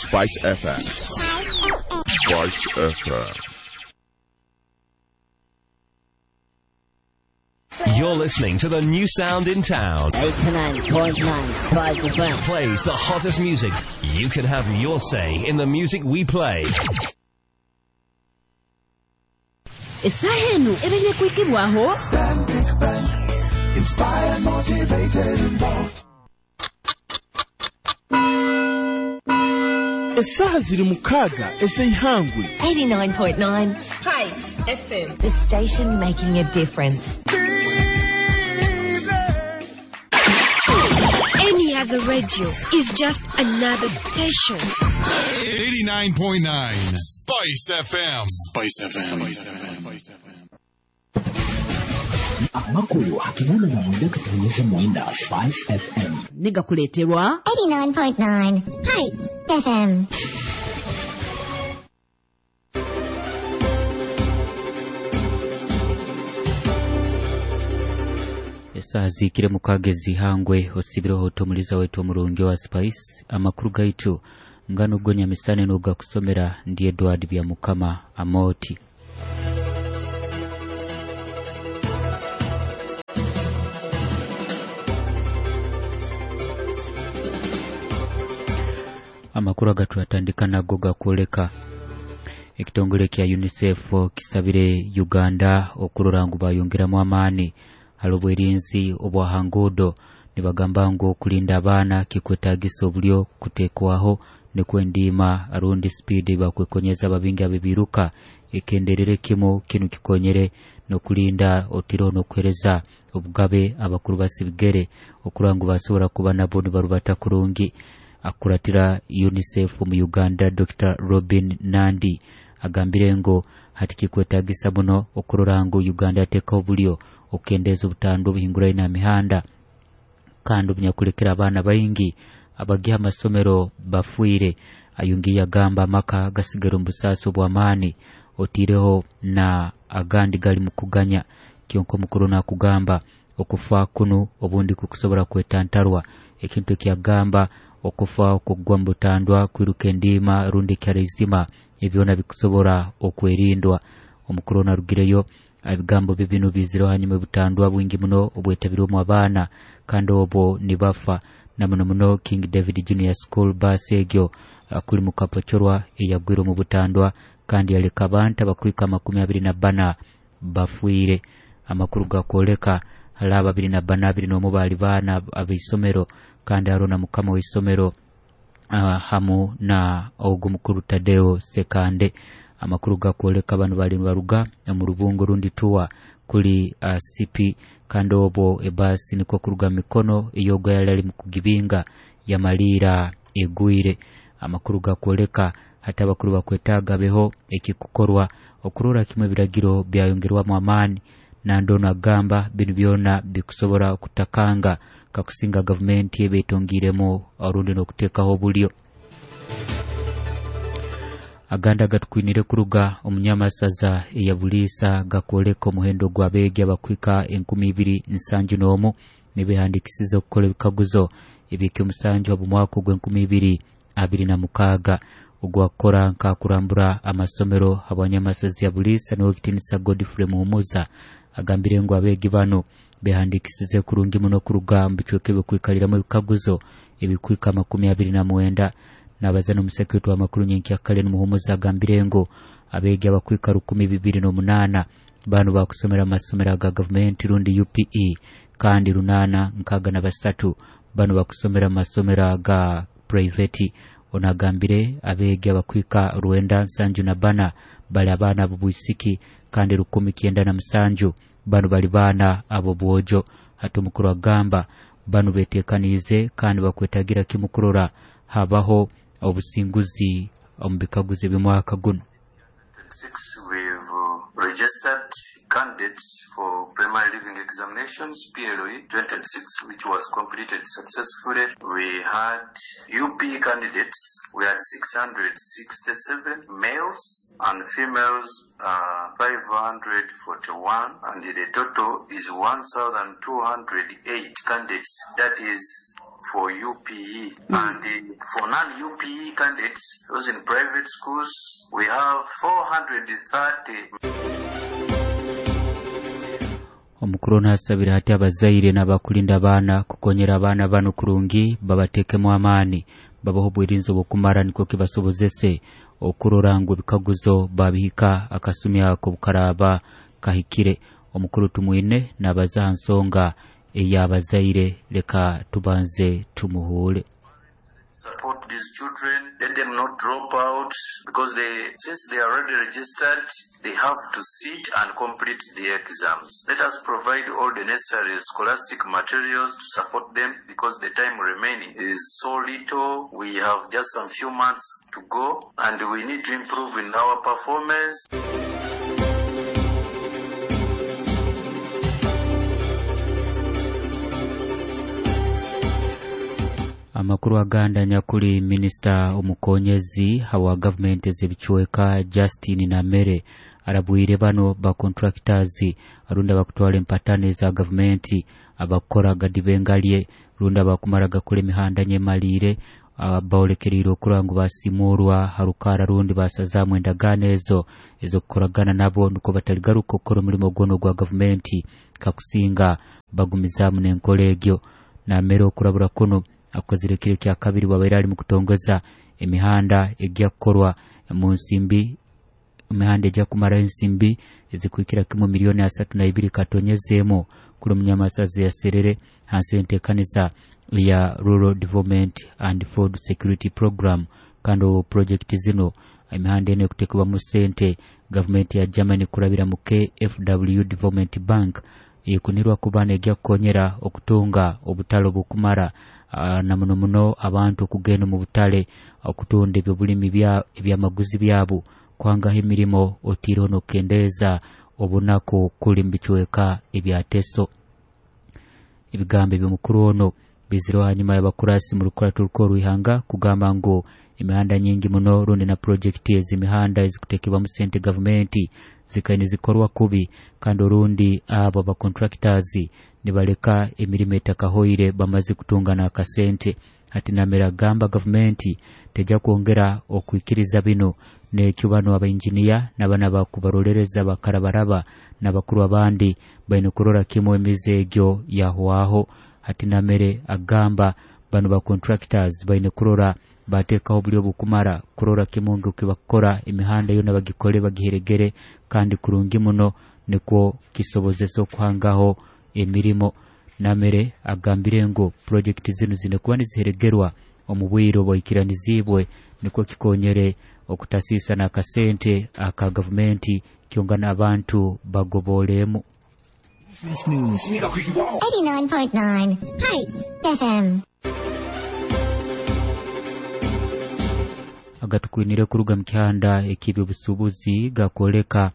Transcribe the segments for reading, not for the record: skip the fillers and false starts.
Spice FM. Spice FM. You're listening to the new sound in town. 89.9 Spice FM. Plays the hottest music. You can have your say in the music we play. Esaha enu ebere kwikibwaho Stanbic Bank. Inspired, motivated, involved. Esaha ziri mukaaga ez'eihangwe. 89.9 Spice FM. The station making a difference. Any other radio is just another station. 89.9 Spice FM. Spice FM. Spice FM. Amakuru hakibona na mwenda katonyeza mwenda Spice FM. Negakuleterwa 89.9 Spice FM. Esaha zikire mukaaga ezihangwe osibireho otomuliza wetu omurungi wa Spice amakuru gaitu ngano gonya misane nogakusomera ndi Edward Byamukama Amoti. Amakuru agatwatandika nago gakwoleka ekitongole kya UNICEF kisabire Uganda okurora ngu bayongeramu amaani hali obwerinzi obwahangudo nibagamba ngu okulinda abaana kikwetagisa obulyo kutekwaho nikwendima arundi speed bakwekonyeza babingi abebiruka ekenderere kimu kinu kikonyere nokulinda otiro nokuhereza obugabe abakuru basibigere okurangu basobora kuba nabo nibarubata kurungi. Akuratira UNICEF mu Uganda Dr. Robin Nandi agambire ngo hati kikwetagisa muno okurora ngu Uganda yateka obulyo okendeza obutando obuhinguraine na mihanda kandi obunyakulekera abaana baingi abagiha amasomero bafuire. Ayungi yagamba amaka gasigara omu busaasi obw'amaani otiireho na agandi gali mukuganya. Kyonka omukuru nakugamba okufa kunu obundi kukusobora kwetantarwa ekintu ekyagamba okufa okugwa mu butandwa kwiruka endiima rundi ekyaraizima ebyona bikusobora okwerindwa. Omukuru narugireyo ebigambo bibinu bizireho hanyuma ebutandwa bwingi muno obwetabirwemu abaana kandi obwo nibafa na muno muno King David Junior School bus egyo kuli mukapochorwa eyagwire omu butandwa kandi yaleka abantu abakwika 24 bafuire. Amakuru gakwoleka hali aba 24 21 bali baana ab'isomero kandi hariho na mukama w'isomero hamu na ogu mukuru Tadeo Sekande. Amakuru gakwoleka bano bali baruga omu rubungo rundi tuwa kuli CP kandi obwo ebasi niko kuruga mikono eyogo yali ali mukugibinga yamalira egwire. Amakuru gakwoleka hata abakuru bakwetaaga beho ekikukorwa okurora kimwe ebiragiro byayongerwamu amaani nandono agamba binu byona bikusobora kutakanga kakusinga gavumenti ebetongiremu orundi n'okuteekaho obulyo. Aganda gatukwinire kuruga omunyamasaza eyabuliisa gakwoleka omuhendo gw'abeegi abakwika 2071 nibehandikisiza okukola ebikaguzo ebyekyomusanju habw'omwaka ogw'2026 ogwakora nkakurambura amasomero habwanyamasaza ya buliisa n'owekitinisa Godfrey Muhumuza agambire ngu abeegi bano behandikisize kurungi muno kuruga mu bicweka ebikwikaliramu ebikaguzo ebikwika 29. Nabaza n'omusekretari w'amakuru nyenkyakale Muhumuza agambire ngu abeegi abakwika 2008 bano bakusomera amasomero aga gavumenti rundi UPE kandi 863 bano bakusomera amasomero aga private. Onagambire abeegi abakwika 974 bali abaana ab'obwisiki kandi 1907 bano bali baana ab'obwojo. Hati omukuru agamba bano betekaniize kandi bakwetagira kimu kurora habaho obusinguzi omu bikaguzo eby'omwaka guno. We've registered candidates for primary leaving examinations, PLE 2026, which was completed successfully. We had UP candidates, we had 667 males and females 541, and the total is 1,208 candidates. That is for UPE. And for non-UPE candidates, those in private schools, we have 430. Omukuru nasabira hati abazaire n'abakulinda abaana kukonyera abaana bano kurungi, babatekemu amaani, babaho obwirinzi obukumara nikwo kibasobozese okurora ngu ebikaguzo babihika akasumi ako bukaraba kahikire. Omukuru Tumwine nabaza ha nsonga ey'abazaire, leka tubanze tumuhuule. Support these children, let them not drop out, because since they are already registered, they have to sit and complete the exams. Let us provide all the necessary scholastic materials to support them, because the time remaining is so little. We have just some few months to go, and we need to improve in our performance. Amakuru aganda nyakuli minisita omukonyezi hawa gavumenti ez'ebicweka Justin Namere arabwire bano ba contractors arunda bakutwala empatane za gavumenti abakora gadibengalye runda bakumara gakora emihanda nyemalire baolekereire okura ngu basimurwa harukara rundi basazamu endagaano ezo ezokukoragana nabo nukwo bataligaruka okukora omulimo gwono gwa gavumenti kakusinga bagumizamu n'enkora egyo. Namere okurabura kuno akozire kiro kya kabiri bwabaire ali mu kutongoza emihanda ejja kukorwa mu nsimbi, emihanda ejja kumara ensimbi ezikuhikira kimu milioni 32 katonyezemu kuli omunyamasazi yaserere hansi y'enteekaniza ya Rural Development and Food Security Program. Kandi obu project zino emihanda eno ekuteekebwamu sente gavumenti ya Germany kurabira mu KfW Development Bank ekunirwa kuba nejja kukonyera okutunga obutale obukumara na muno muno abantu okugenda mu butale okutunda ebyobulimi ebyamaguzi byabo kwangaho emirimo otiireho n'okukendeeza obunaku kuli mu bicweka ebyateso. Ebigambo eby'omukuru ono bizireho hanyuma y'abakurasi mu rukurato rw'ihanga kugamba ngu emihanda nyingi muno rundi na projekiti ez'emihanda ezikuteekebwamu sente gavumenti zikaine zikorwa kubi, kandi orundi abo aba contractors nibaleka emirimo etakahoire bamaze kutunga n'akasente. Hati Namere agamba gavumenti tejja kwongera okwikiriza bino, nekyo bano abainjiniya n'abana bakubarolereza bakarabaraba n'abakuru abandi baine kurora kimu emize egyo yahwaho. Hati Namere agamba bano ba contractors baine kurora bateekaho obulyo obukumara kurora kimu ngu kibakukora emihanda yona bagikole bagiheregere kandi kurungi muno nikwo kisobozesa okuhangaho emirimo. Namere agambire ngu projekiti zinu zine kuba niziheregerwa omu bwire obwaikiranizibwe nikwo kikonyere okutasiisa n'akasente aka gavumenti kyonga n'abantu bagoboolemu. 89.9 Spice FM. Agatukwinire kuruga mu kihanda ek'ebyobusuubuzi gakwoleka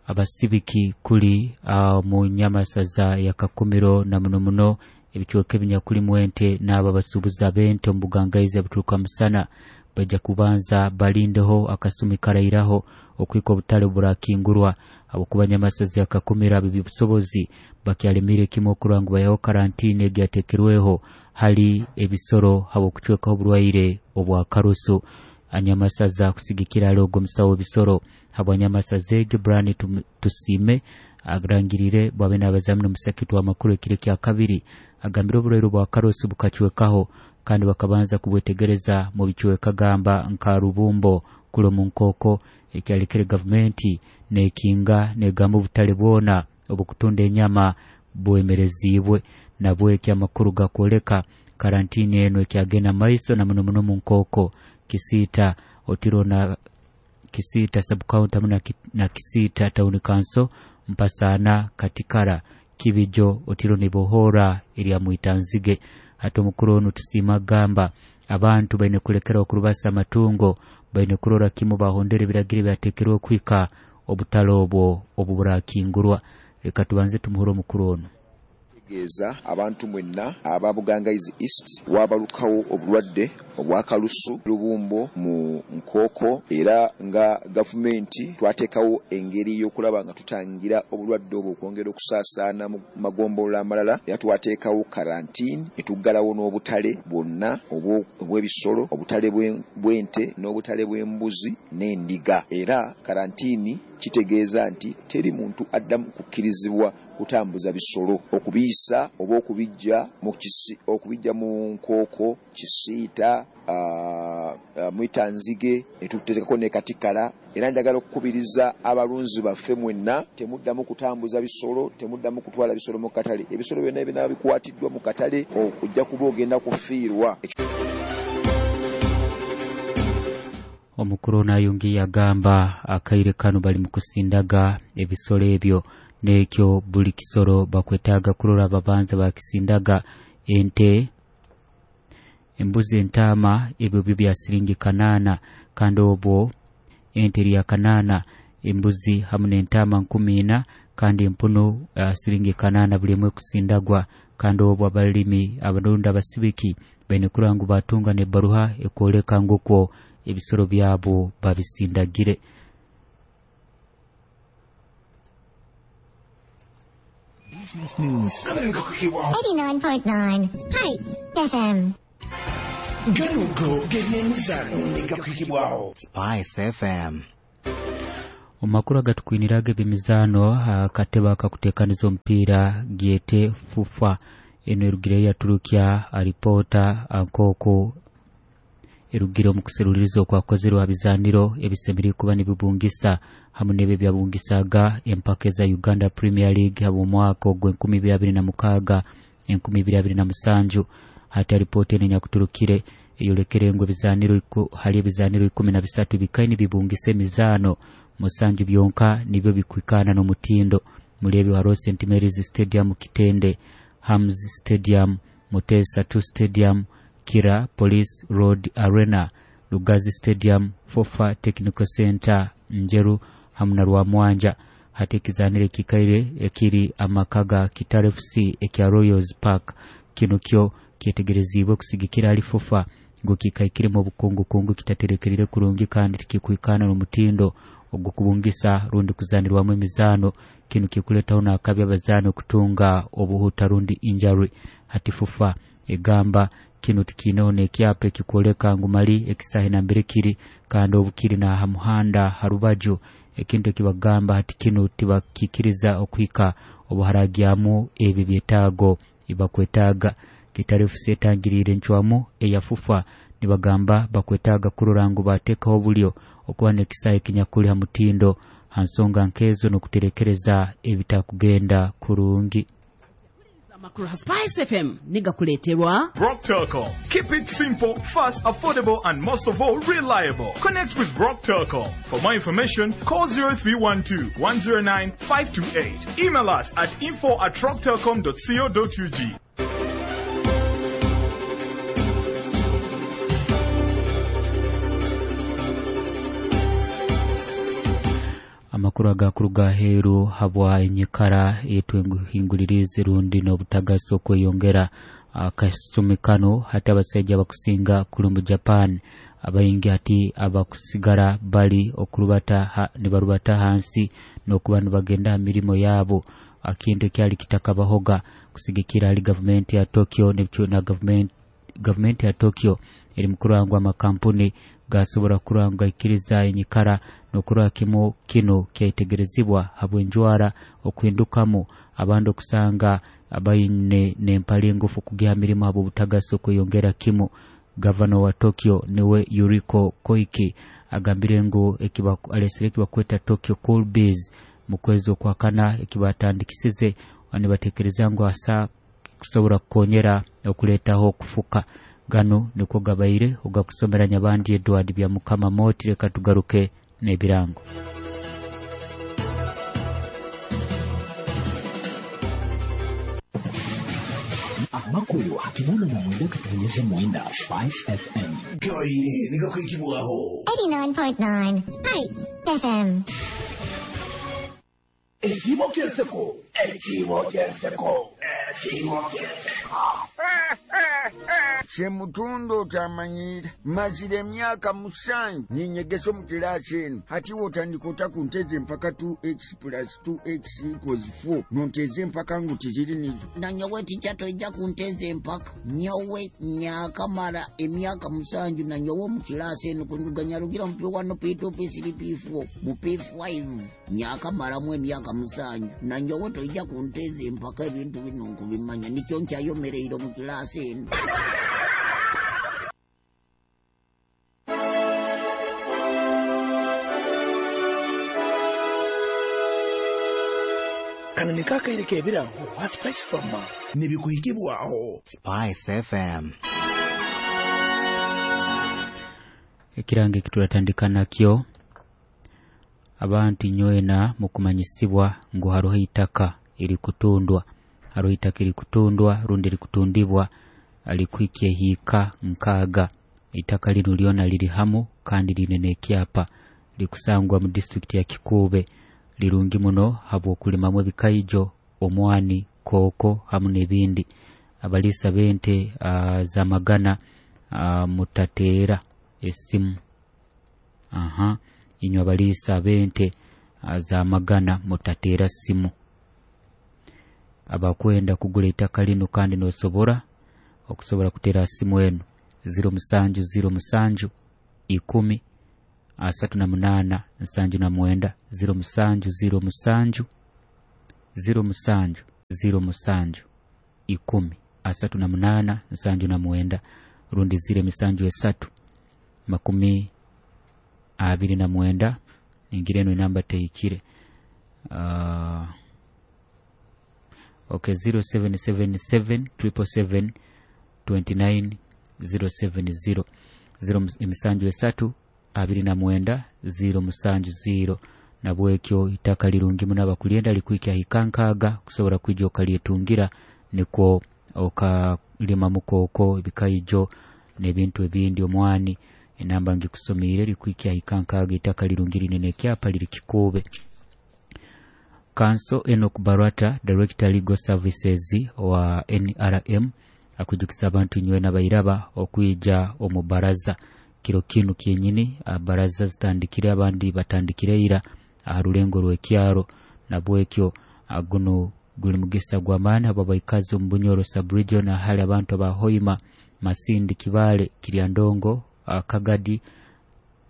abasibiki kuli mu nyamasaza ya Kakumiro na muno muno ebicweka ebinyakulimu ente n'abo abasuubuzi ab'ente omu bugangaizi obuturuka musana bajja kubanza balindeho akasumi karairaho okwika obutale burakingurwa habwokuba nyamasaza ya Kakumiro ab'ebyobusobozi bakyalemire kimu okurora ngu bayaho karantini egyateekerweho hali ebisoro habw'okucwekaho oburwaire obwa karusu. Anyamasaza kusigikira ali ogwo omusawo w'ebisoro habwa nyamasaza egyo Brian Tusime arangirire bwabe n'abazamu n'omusakitu w'amakuru ekiro kya kabiri agambire oburwaire obwa karusu bukacwekaho kandi bakabanza kubwetegereza mu bicweka gamba nka Rubumbo kuli omu Nkooko ekyalekere gavumenti nekinga negamba obutale bwona obukutunda enyama bwemerezibwe. Nabweki amakuru gakwoleka karantini eno ekyagenda maiso na muno muno mu Nkooko, Kisiita, Otiro na Kisiita sub-county hamu na Kisiita town council, Mpasana, Katikara, Kibijo, Otiro nibohora erya Mwitanzige. Hati omukuru ono Tusiima agamba abantu baine kulekera okurubasa amatungo, baine kurora kimu bahondera ebiragiro ebyateekerwe okwika Obutale obwo obuburakingurwa. Leka tubanze tumuhure omukuru ono. Tegeeza abantu mwenna aba Bugangaizi East wabalukawo obulwadde obwa kalusu lubumbo mu nkooko era nga gavumenti twateekawo engeri y'okulaba nga tutangira obulwadde obwo okwongera okusaasaana mu magombolola amalala era twateekawo karantini ne tuggalawo n'obutale bwonna obw'ebisolo, obutale bw'ente n'obutale bw'embuzi n'endiga era karantini kitegeeza nti teri muntu addamu kukkirizibwa kutambuza bisolo okubiyisa oba okubiggya mu okubijja mu nkooko, Kisiita, Mwitanzige ne tuteekako ne Katikala era njagala okukubiriza abalunzi baffe mwenna temuddamu kutambuza bisolo, temuddamu kutwala bisolo mu katale. Ebisolo byonna ebinaaba bikwatiddwa mu katale ojja kuba ogenda kufiirwa. Omukuru ono ayongiire agamba akaire kanu bali mu kusindaga ebisolo ebyo nekyo buli kisoro bakwetaaga kurora babanza bakisindaga. Ente, embuzi, entaama ebyo byo bya siringi 8 kandi obwo ente eri ya 8, embuzi hamu n'entaama 14 kandi empunu siringi 8 buli emwe kusindagwa. Kandi obwo abalimi abalunda abasibiki baine kurora ngu batunga n'ebbaruha ekwoleka ngu okwo ebisoro byabo babisindagire. Business News. 89.9 Spice FM. Ganugo g'ebyemizano egakwikibwaho Spice FM. Omakuru agatukwiniraga ebyemizano akatebe akakuteekaniza omupiira gyete FUFA eno erugireyo yaturukya alipoota nk'oku erugire omu kuseruliriza okwakozerwe aha bizaaniro ebisemeriire kuba nibibungisa hamu n'ebyo ebyabungisaga empaka eza Uganda Premier League habw'omwaka ogw'e 2026 2027. Hati alipoota eno enyakuturukire eyolekere ngu ebizaniro hali ebizaniro 13 bikaine bibungisa emizaano 7 byonka nibyo bikwikana n'omutindo. Muri ebyo hariho St Mary's Stadium Kitende, Hams Stadium, Mutesa 2 Stadium, Kira Police Road Arena, Lugazi Stadium, Fofa Technical Center Njeru hamu na Rwamwanja. Hati ekizaniro ekikaire ekiri amaka ga Kitara FC ekya Royals Park kino kyo kyetegerezibwe kusigikira ali FUFA ngu kikaikiremu obukungukungu kitaterekerire kurungi kandi tikikwikana n'omutindo ogukubungisa rundi kuzanirwamu emizaano. Kino kikuletaho n'akabi abazaani okutunga obuhuta rundi injury. Hati FUFA egamba kino tikiineho n'ekyapa ekikwoleka ngu mali ekisahe nambere kiri kandi obu kiri n'aha muhanda ha rubaju, ekintu ekibagamba hati kino tibakikiriza okuhika obu haragyamu ebyo byetaago ebibakwetaaga. Kitara FC etangiriire encwamu eya FUFA nibagamba bakwetaaga kurora ngu bateekaho obulyo okuba n'ekisahe ekinyakuli ha mutindo ha nsonga nkezo n'okuterekereza ebitakugenda kurungi. Amakuru ha Spice FM nigakuleterwa Brock Telcom. Keep it simple, fast, affordable, and most of all, reliable. Connect with Brock Telcom. For more information, call 0312 109 528. Email us at info@rocktelcom.co.ug. Amakuru agakuruga aheeru habwa enyikara etwehingulirize rundi n'obutagasi okweyongera akasumi kano. Hati abasaija abakusinga kuli mu Japan abaingi hati abakusigara bali okurubata nibarubata hansi n'okuba nibagenda aha mirimo yaabo, akintu ekyali kitakabahoga kusigikira hali gavumenti ya Tokyo na gavumenti ya Tokyo eri mukurangwa amakampuni gasobora kuranga ikiriza enyikara n'okurora kimu kino kyaitegerezibwa habw'enjwara okuhindukamu abandi okusanga abaine n'empale engufu kugiha mirimo habw'obutagasi okweyongera kimu. Gavana wa Tokyo niwe Yuriko Koike agambire ngu alesere ekibakweta Tokyo Cool Biz mu kwezi okwakana ekibatandikisize nibatekereza ngu asa kusobora kukonyera okuleetaho okufuka. Gano nikwo gabaire ogakusomera Nyabandi Edward bya Mukama Moti. Leka tugaruke n'ebirango. Amakuru 89.9 Spice FM. Gabaire nigakwikibwaho 89.9 Spice FM. Ekiibo ky'enseko, ekiibo ky'enseko, ekiibo ky'enseko. Semutundo otamanyira, mazira emyaka 7 ninyegesa omu kilaasi eno. Hati wotandika ota kunteza empaka 2x plus 2x equals 4, nonteza empaka ngu tiziri nizo. Nanyowe tica toija kunteza empaka. Nyowe nyakamara emyaka 7 nanyowe omu kilaasi eno kunduganyarugira mu P1, P2, P3, P4, mu P5 nyakamaramu emyaka 7. Nanyowe toija kunteza empaka, ebintu bino nkubimanya, nikyo nkyayomereire omu kilaasi eno. Kano niko akaire k'ebirango ha Spice Farmer nibikuhikibwaho Spice FM. Ekirango ekituratandika nakyo, abantu nywena mukumanyisibwa ngu haroho itaka erikutundwa, haroho itaka erikutundwa rundi erikutundibwa alikuikia hika 6. Itaka lino lyona liri hamu kandi line n'ekyapa, likusangwa mu district ya Kikuube. Lirungi muno habw'okulimamu ebikaijo, omwani, kooko hamu n'ebindi. Abalisa b'ente za magana mutateera esimu. Inywe abalisa b'ente za magana mutateera simu. Abakwenda kugula itaka lino kandi nosobora okusobora kuteera simu eno 07 07 10 38 79 07 07 07 07 10 38 79 rundi 0 7 3 29. Ningira eno inamba tehikire. Okay, 0777 777 29 070 0 7 3 29 070. Nabwekyo itaka lirungi muno abakulyenda likuikya hikankaga kusobora kwija okalyetungira, nikwo okalima mukoko ebikaijo n'ebintu ebindi omwani. Enamba ngikusomiire likuikya hikankaga, itaka lirungi linene ekyapa liri Kikuube. Kanso Enoch Barata, Director Legal Services wa NRM, akujukisa abantu nywena bairaba okuija omu baraza kiro kinu kyenyini. Baraza zitandikire, abandi batandikire ira aha rulengo rw'ekyaro. Nabwekyo guno guli mugisa gw'amaani abo baikazi omu Bunyoro sub-region, ahali abantu aba Hoima, Masindi, Kibale, Kiryandongo, Kagadi,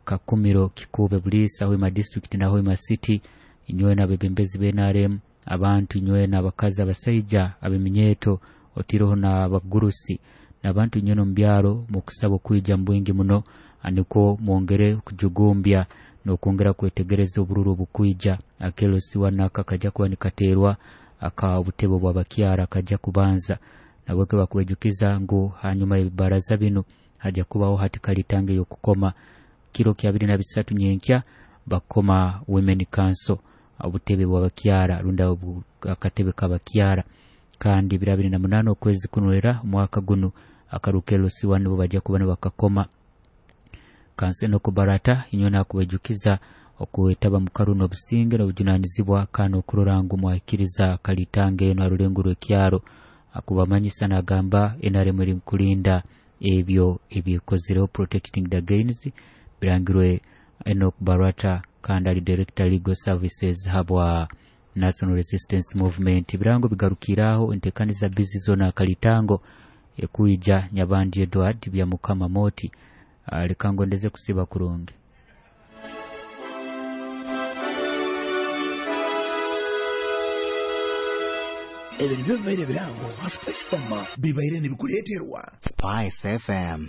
Kakumiro, Kikuube, Bulisa, Hoima district na Hoima city. Inywena abebembezi b'NRM, abantu inywena abakazi, abasaija, abeminyeto, otiroho na abagurusi n'abantu inywena omu byaro, mukusaba okwija mu bwingi muno nikwo mwongere kujugumbya n'okwongera kwetegereza obururu obukwija. Akelosi wanaka kajja kuba nikateerwa aka obutebe bw'abakyara kajja kubanza. Nabweke bakubejukiza ngu hanyuma y'ebibaraza bino hajja kubaho hati kalitange y'okukoma kiro kya 23 nyenkya bakoma Women Council, obutebe bw'abakyara runda akatebe k'abakyara. Kandi 28 okwezi kunwera omwaka guno akarukelo siwa nibo bajja kuba nibakakoma. Kanso Enoch Barata inywena akubajukiza okwetaba mu karuno obusinge n'obujunanizibwa kandi okurora ngu mwahikiriza kalitange eno arulengo rw'ekyaro. Akubamanyisa nagamba NRM eri kulinda ebyo ebikozireho, protecting the gains, birangirwe Enoch Barata kandi ali Director Legal Services habwa National Resistance Movement. Birango bigarukiraho entekaniza bizi zona kalitango ekuija Nyabandi Edward bya Mukama Moti. Lekango ndeze kusiba kurungi. Ebyo nibyo bibaire birango ha Spice Farmer bibaire nibikuleeterwa Spice FM.